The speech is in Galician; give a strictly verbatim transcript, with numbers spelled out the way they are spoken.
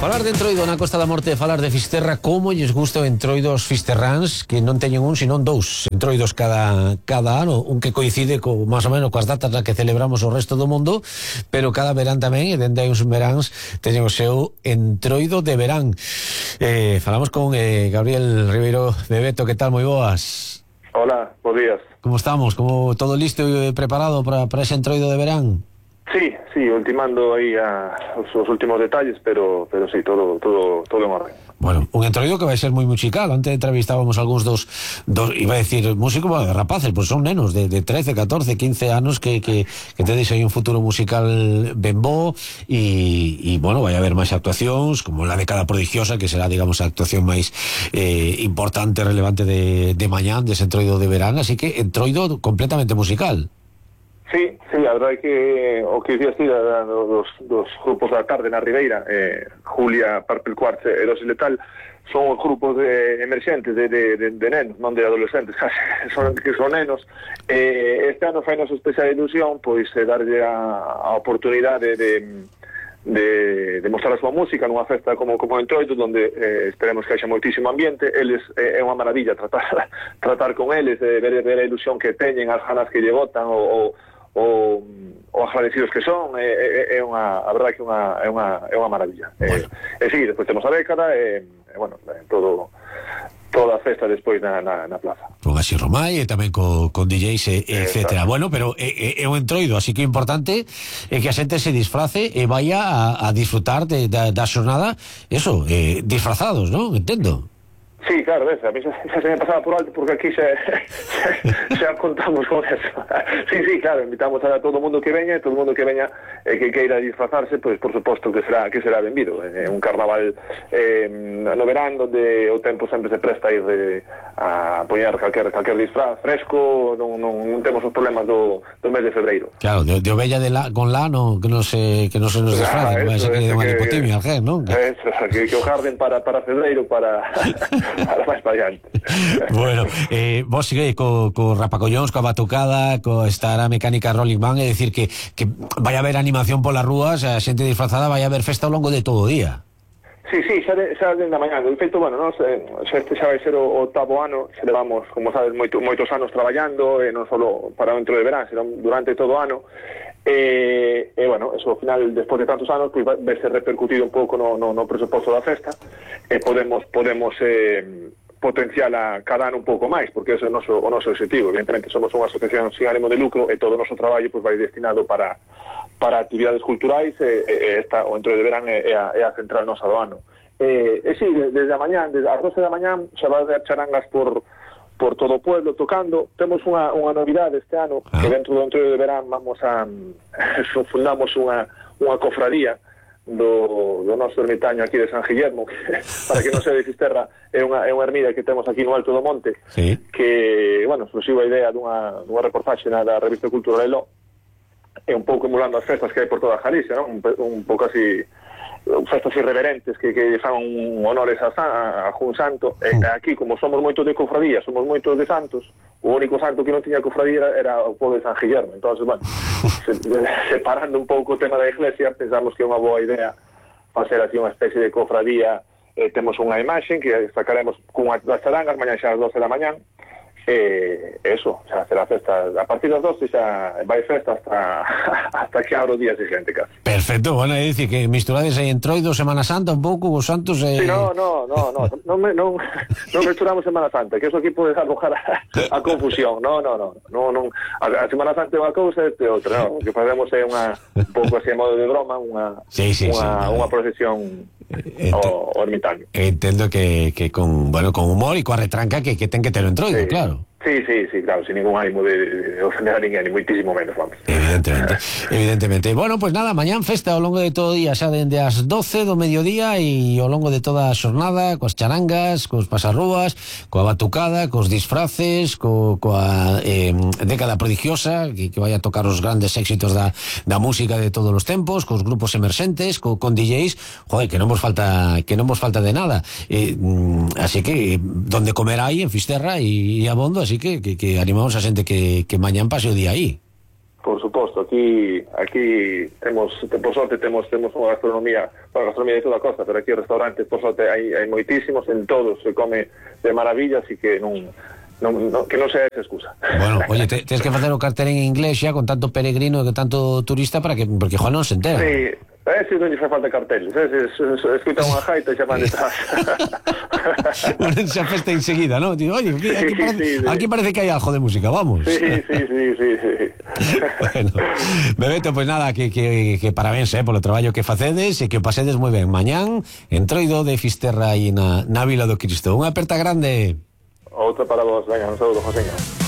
Falar de Entroido na Costa da Morte, falar de Fisterra, como lles gusta o Entroido aos fisterráns, que non teñen un, senón dous Entroidos cada, cada ano, un que coincide co, máis ou menos coas datas na que celebramos o resto do mundo, pero cada verán tamén, e dende hai uns veráns, teñen o seu Entroido de verán. Eh, falamos con eh, Gabriel Ribeiro Bebeto, que tal, moi boas? Hola, bons días. Como estamos? Como todo listo e preparado para, para ese Entroido de verán? Sí, sí, ultimando aí a, os, os últimos detalles, pero pero sí, todo todo todo en orden. Bueno, un Entroido que vai ser moi musical. Antes entrevistábamos algúns dos, dos iba a decir, músicos, bueno, de rapaces, pois pues son nenos de, de trece, catorce, quince anos que, que, que tedes aí un futuro musical ben bo e, e bueno, vai haber máis actuacións, como la década prodigiosa, que será, digamos, a actuación máis eh, importante, relevante de, de mañán, dese Entroido de verán, así que Entroido completamente musical. Sí, sí, a verdade é que o que dicías ti dos, dos grupos da tarde na Ribeira, eh, Julia, Purple Quartz e Dosis Letal, son os grupos de emerxentes de, de, de, de nenos, non de adolescentes, casi, son, que son nenos. Eh, este ano fai nosa especial ilusión, pois, eh, darlle a, a oportunidade de, de, de mostrar a súa música nunha festa como, como Entroido, onde eh, esperemos que haxa moitísimo ambiente. Eles, eh, é unha maravilla tratar, tratar con eles, eh, ver, ver a ilusión que teñen, as ganas que lle botan, o, o o, o agradecidos que son, é, é, é unha, a verdade que unha, é unha, é unha maravilla. Bueno. E, e sí, despois temos a década, e, e bueno, todo, toda a festa despois na, na, na plaza. Con así Romai e tamén co, con D Js, e, etcétera. Bueno, pero é, é un Entroido, así que o importante é que a xente se disfrace e vaya a, a disfrutar de, da, da xornada, eso, eh, disfrazados, non? Entendo. Sí, claro, ves, a mí xa, xa se me pasaba por alto porque aquí xa, xa, xa contamos con eso. Sí, sí, claro, invitamos a todo o mundo que veña, todo o mundo que veña eh, que queira disfrazarse, pois por suposto que será que será benvido. É eh, un carnaval eh, no verán onde o tempo sempre se presta a ir de, a poñer calquer, calquer disfraz fresco, non, non, non temos os problemas do, do mes de febreiro. Claro, de, de ovella de la, con lano que non se, que non se nos disfrace, ah, que vai ser que de unha hipotimia, non? Eso, que, que o jarden para, para febreiro, para... para máis variante. Bueno, eh, vos sigue co, co rapacollóns, coa batucada, co estar a mecánica Rolling Man, é dicir que, que vai haber animación polas rúas, a xente disfrazada, vai haber festa ao longo de todo o día. Sí, sí, xa, de, xa dende a mañá. De feito, bueno, nos, eh, xa este xa vai ser o octavo ano, xa levamos, como sabes, moito, moitos anos traballando, e non só para o Entroido de verán, senón durante todo o ano. E, e bueno, eso ao final, despois de tantos anos, pois vai ser repercutido un pouco no, no, no presuposto da festa, e podemos podemos eh, potenciar a cada ano un pouco máis, porque ese é o noso, o noso objetivo. Evidentemente somos unha asociación sin ánimo de lucro e todo o noso traballo pois vai destinado para para actividades culturais, e, e esta, o Entroido de verán é, é, a, é a central nosa do ano. E, e sí, desde a mañán, desde as doce da mañán, xa vai haber charangas por por todo o pueblo tocando. Temos unha, unha novidade este ano, ah. que dentro do Entroido de verán vamos a fundamos unha, unha cofradía do, do noso ermitaño aquí de San Guillermo, que, para que non se de Fisterra, é unha, é unha ermida que temos aquí no Alto do Monte, sí. Que, bueno, surxiu a idea dunha, dunha reportaxe na da revista Cultura Lelo, e un pouco emulando as festas que hai por toda a Galicia, non? Un, un pouco así, festas irreverentes que, que fan honores a, a, a Jun Santo. E aquí, como somos moitos de cofradía, somos moitos de santos, o único santo que non tiña cofradía era, era o povo de San Guillermo. Entón, bueno, se, separando un pouco o tema da iglesia, pensamos que é unha boa idea facer así unha especie de cofradía. Eh, temos unha imaxe que sacaremos cunha das charangas mañá xa ás doce da mañán. Eh, eso, xa será festa a partir das doce, xa vai festa hasta hasta que abro o día siguiente casi. Perfecto, bueno, é dicir que misturades aí Entroido, Semana Santa un pouco, os santos e... Eh... Sí, no, no, no, no, non non non non mesturamos Semana Santa, que eso aquí pode arrojar a, a confusión. No, no, no, no, non, a, a Semana Santa é unha cousa e este outra, no, o que facemos é unha un pouco así a modo de broma, unha sí, sí, unha, sí, unha procesión o, o ermitaño. Entendo que, que con, bueno, con humor e coa retranca que, que ten que ter o Entroido, sí. Claro. Sí, sí, sí, claro, sin ningún ánimo de, de ofender a ninguén, ni moitísimo menos, vamos. Evidentemente, evidentemente. Bueno, pues nada, mañán festa ao longo de todo o día, xa dende as doce do mediodía e ao longo de toda a xornada, coas charangas, cos pasarrúas, coa batucada, cos disfraces, co, coa eh, década prodigiosa, que, que vai a tocar os grandes éxitos da, da música de todos os tempos, cos grupos emerxentes, co, con D Js, joder, que non vos falta, que non vos falta de nada. Eh, así que, donde comer hai en Fisterra e abondo, así que, que, que animamos a xente que, que mañán pase o día aí. Por suposto, aquí aquí temos, por sorte temos temos unha gastronomía, unha gastronomía de toda a costa, pero aquí os restaurantes, por sorte, hai, hai moitísimos, en todos se come de maravilla, así que non, non, non que non sea esa excusa. Bueno, oye, te, tens que facer o cartel en inglés xa con tanto peregrino e con tanto turista para que, porque Juan non se entera. Sí, eh, si non lle fai falta carteles, eh, se, se, se escuta unha jaita e xa van detrás. Unense a festa enseguida, ¿no? Digo, oye, aquí, aquí, Sí, parece, sí, sí. aquí parece que hai algo de música, vamos. Sí, sí, sí, sí, sí. Bueno, Bebeto, pues nada, que, que, que parabéns eh, polo traballo que facedes e que o pasedes moi ben. Mañán, entroido de Fisterra aí na, na Vila do Cristo. Unha aperta grande. Outra para vos, venga, un saúdo, Joseño.